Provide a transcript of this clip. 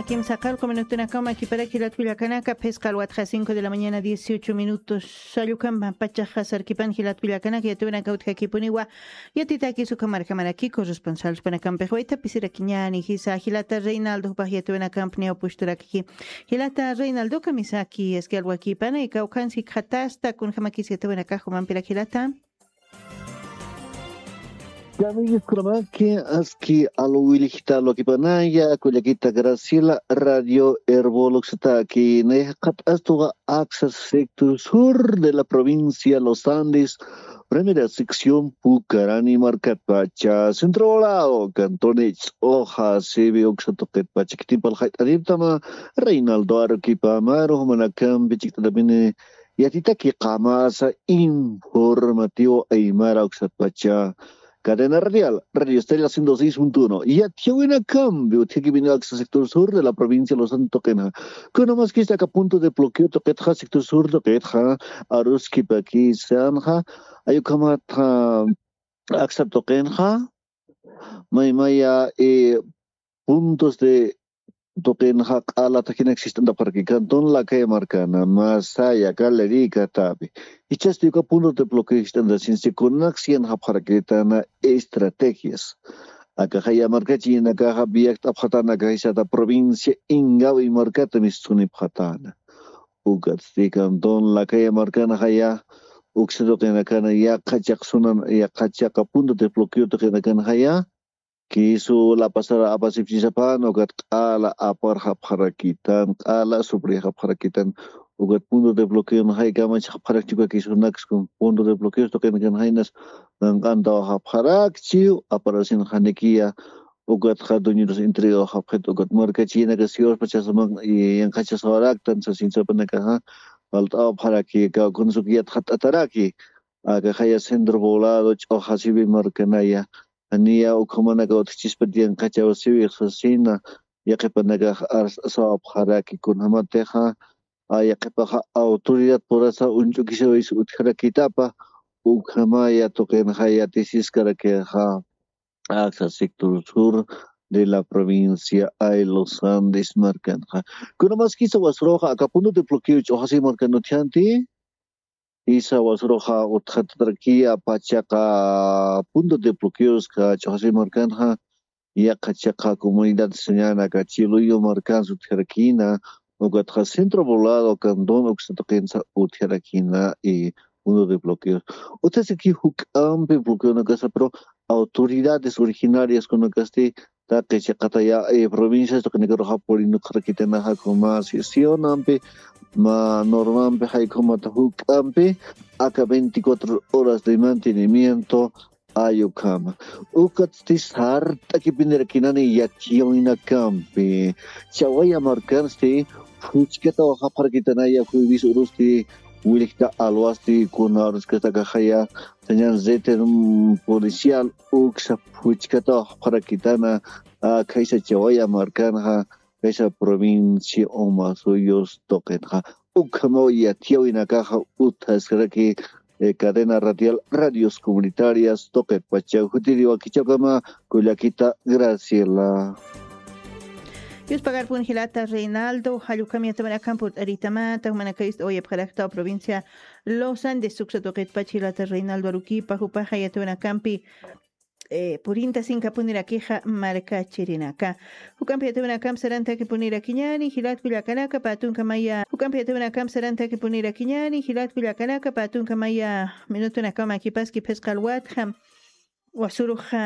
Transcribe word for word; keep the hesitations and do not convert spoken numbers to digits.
Kimsa qallqu minutunakaw makiparak jilat kullakanaka, phisqa alwatxa cinco de la mañana dieciocho minutos. Allukam pachaxa sarkipan jilat kullakanaka, yatiwanaka utjakipuniwa yatitaki suka markamaraki corresponsalspanakampi waytapisirakini. Jisa jilata Reinaldo jupax yatiwanakampi niyaw pushturakiki. Jilata Reinaldo, kamisaki, eski alwakipana ikawkansi khatasta kunjamakis yatiwanakax jumampirak jilata. Kamiskuramaki, aski alwilijta alwakipanaya kullakita Graciela, Radio Erbol uksataki, nayjaqat astuqa Axa sector sur de la provincia Los Andes, primera sección Pucarani markatpacha, centro volado, cantón Ich'oja, sibi uksa tuqitpacha, kitimpal jayt'ariptama, Reinaldo Arequipa, maru jumanakampi chikt'atapini yatitaki qamasa informativo aymara uksatpacha. Cadena Radial, Radio Estrella ciento seis punto uno. Yatiyawinakampi utjakipini Axa sector sur de la provincia Los Andes tuqinxa. Kunamaskista aka punto de bloqueo tuqitxa, sector sur tuqitxa, aruskipakisanxa, ayukhamatxa Axa tuqinxa, maymaya, eh, puntos de tuqinxa q'ala takinak sistantapxaraki, cantón Lacaya markana, Masaya, Galerica, Tapi. Jichhasti uka punto de bloqueo sistantasinsi kunak siyanxapxarakitana estrategias. Akaxaya markachirinakaxa viakt'apxatana aka jisata provincia Ingavi markata mistunipxatana. Ukatsti cantón Lacaya markanaxaya uksa tuqinakana yaqha chaqsunan, yaqha chaqa punto de bloqueo tuqinakanaxaya, kisu lapasara apasipchisapan, ukat q'ala aparxapxarakitan, q'ala sufrixapxarakitan, ukat punto de bloqueon jaykamachxapxarakchi uka kisunaks kun punto de bloqueos tuqinakan jaynas, qanq'antawaxapxarakchi, aparasin janikiya, ukatxa dueños entregawxapxit, ukat markachinakas siwaspachasaman, yanqhachasawaraktan sasinsapanakaxa, falt'awapxaraki, kawkhunas uk yatxat'ataraki, akaxaya centro poblado, ch'uxasiwi markanaya, niya ukhamanaka utjchispa tiyanqachaw siwi sasina, yaqhipanakax arsasawapxaraki kunjamatixa, a, yaqhipaxa autoridad purasa uñch'ukisawis utjarakitapa, ukhamaya tuqinxa yatisiskarakixa, Axa sector sur de la provincia ay Los Andes markanxa. Kunamaskisa wasruxa aka punto de bloqueo ch'uxasi markan utjanti, Isa wasruxa utxatatarakiya pachaqa punto de bloqueoska ch'uxasi markanxa, yaqha chaqa comunidad sañanaka Chiluyo markansa utjarakina, ukatxa centro poblado cantón uksa tuqinsa utjarakina, y punto de bloqueos. Utjasiki juk'ampi bloqueonakasa, pero autoridades originarias kunakasti, taqi chiqataya, eh, provincias tuqinakaruxa purinukxarakitanaxa, kuma sesionampi, ma normampi, jaykhumata juk'ampi, aka veinticuatro horas de mantenimiento ayukhama. Ukatsti sart'akipinirakinani yatiyawinakampi. Chawaya markansti, phuchkataw japxarakitanaya, jueves urusti, wilikta alwasti, kuna uruskatakaxaya, sañan reten policial uksa phuchkataw japxarakitana, a, khaysa Chawaya markanxa, khaysa provincia Omasuyos tuqinxa. Ukhamaw yatiyawinakaxa utjaskaraki, eh, cadena radial, radios comunitarias tuqitpacha, jutiriwakichawkama, kullakita Graciela. Yuspagarpun jilata Reinaldo, jallukam yatawanakan purt'aritamata, jumanakayust oyapxaraktaw provincia Los Andes suksa tuqitpach jilata Reinaldo Aruquipa, jupaxa yatawanakampi, eh, purinta sinkapunirakixa markachirinaka. Jukampi yatawanakamp sarantakipunirakiñani, jilat kullakanaka, patunkamaya. Jukampi yatawanakamp sarantakipunirakiñani, jilat kullakanaka, patunkamaya. Minutunakama kipaski phisqa alwatxa. Wasuruxa